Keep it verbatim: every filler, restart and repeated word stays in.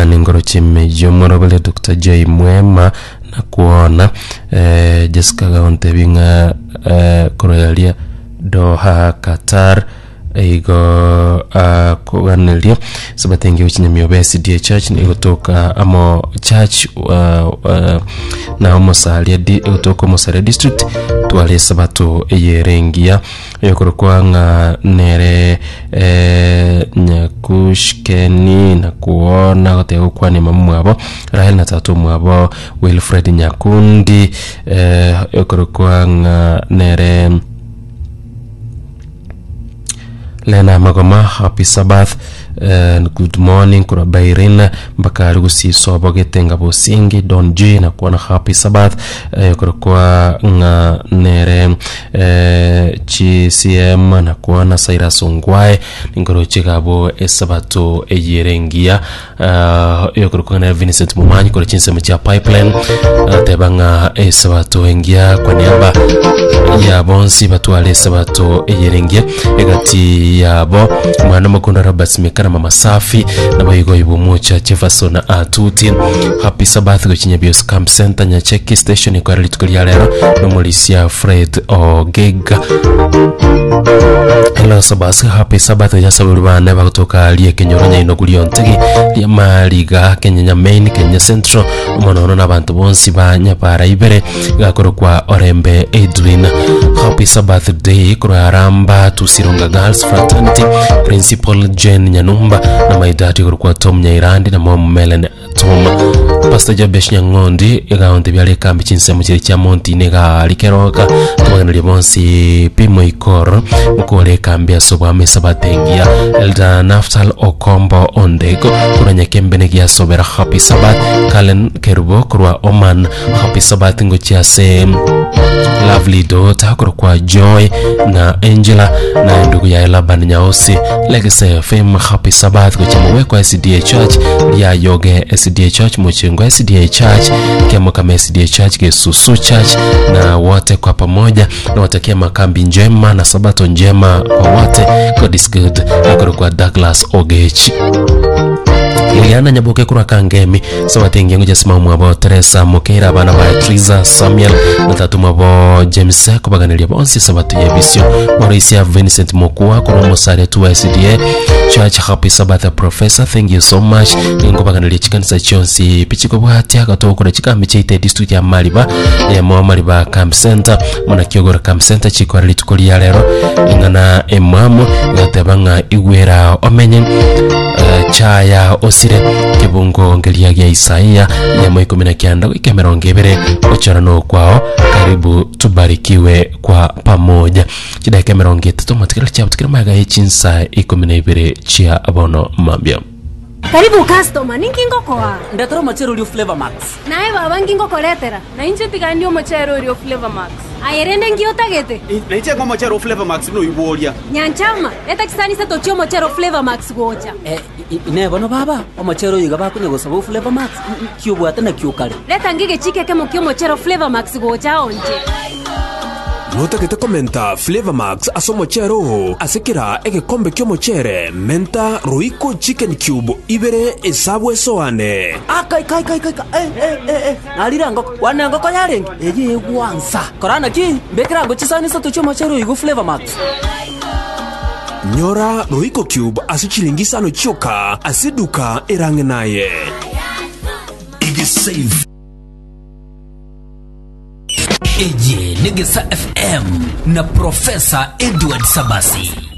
Ningoro chimejo morobele Doctor J Mwema nakuona eh, Jessica gaontebi ng'a eh, koroyaria Doha Qatar igo uh, koganeria sabatenge ochinyamiobe S D A Church nigotoka amo church uh, uh, na omosaria di gotoka Omosaria district tware sabato eyerengia eyokorokwa ng'a nere eh, Nyakushkeni nakuona goteba gokwania mama mwabo Rahel na tata mwabo Wilfred Nyakundi eh, eyokorokwa ng'a nere Lena Magoma. Happy Sabbath and good morning kura Bairin mpaka ari gusiso bogetenga bosingi Don G na kuona. Happy Sabbath eh, kwa ng'a nere eh, G C M na kuona Cyrus Ongwae ningoro chigabo esabato eyerengia uh, yokorokwa na Vincent Mumanyi kora chinsemo chia Pipeline ateba ng'a esabato engia kwa niaba ya bonsi batwale esabato eyerengia egati yabo mwana mukondo Robert Smikana, Mama Safi na boigo ibomucha Jefferson Atuti. Happy Sabbath gochinya Bios Camp Center Nyacheki Station ikwara rituko ria rero nomorisia Fred Ogega. Hello Sabas, happy Sabbath jasaburi bane bagotoka rie Kenyoro nyaino kuri ontegi ria Mariga Kenya Main Kenya Central omonono n'abantu bonsi ba Nyabara ibere gakorokwa Orembe Edwin. Happy Sabbath day kuraramba Tusironga Girls Fraternity, Principal Jane Nyanumba na maidati korokwa Tom Nyairandi na Mom Melen Tom. Pastor Jabesh Nyang'ondi egaonte byare kambi chinsemo chiri chia Monti nega likeroka tubageneria bonsi pimo ikoro mukore kambi asobwa mesabatengia. Elder Naftal Okombo Ondego kuranya kembene giasobera. Happy Sabbath Kalen Kerubo kurwa Oman. Happy Sabbath ngochiase lovely daughter kurwa Joy na Angela na ndugu ya Laban Nyaosi. Legacy F M, happy Sabbath gochamuwekwa S D A Church ya Yoge S D A Church, Muchingo S D A Church, Kiamokama S D A Church, Gesusu Church na wote kwa pamoja nawatakia makambi njema na sabato njema kwa wote. God is good. Akorokwa Douglas Ogechi. Liliana Nyaboke kurwa Kangemi, sabatengi ngo jasima mwabo Teresa Mukera, abana ba Triza Samuel na tatu mwabo James, kubaganiria bonsi sabato yebisio. Mauricia Vincent Mokua kurwa Musare tu S D A Church. Happy Sabbath, Professor, thank you so much. Nkubaganiria chikanisa chionsi pichiko bwatia gatokora chikambi chaite district ya Mariba ya mo Mariba Camp Center mona Kiogora Camp Center chikora rituko ria rero ingana emwamu gateba ng'a igwera omenye uh, chaya osire kibungo ngeria gia Isaia yamo ikumi na kianda goika mirongo ibere ochora no kwao. Karibu tubarikiwe kwa pamoja. Chidakika mirongo itatu matikira chabo tikira maga yechinsa ikumi na ibere chia bono mambia. Karibu customer, ninki ngokoa? Ndetera omochere oria Flavor Max. Naye baba nkingokoretera? Na inche tigandi omochere oria Flavor Max. Aye rende nki otagete? Naiche ng'o omochere o Flavor Max buna oiboria. Nyanchama, eta chisani isato chia omochere o Flavor Max gocha. Eh, ine bono baba omochere oyo iga bakonya gosaba o Flavor Max kiobwate na kiokare. Leta ngige chike kemo kia omochere o Flavor Max gocha onche. Notagete komenta Flavor Max ase omochere oo ase kera egekombe kia omochere menta Royco chicken cube ibere esabu esoane. Akaikaikaikaika eh, eh, eh, eh. Narire ngoko wane ngoko yarenge eye egwansa korana ki mbekera ngo chisani isato chia omochere oyo igo Flavor Max. Nyora Royco cube ase chilingi isano chioka ase eduka erang'e naye. Igisave eye Negesa F M na Profesa Edward Sabasi.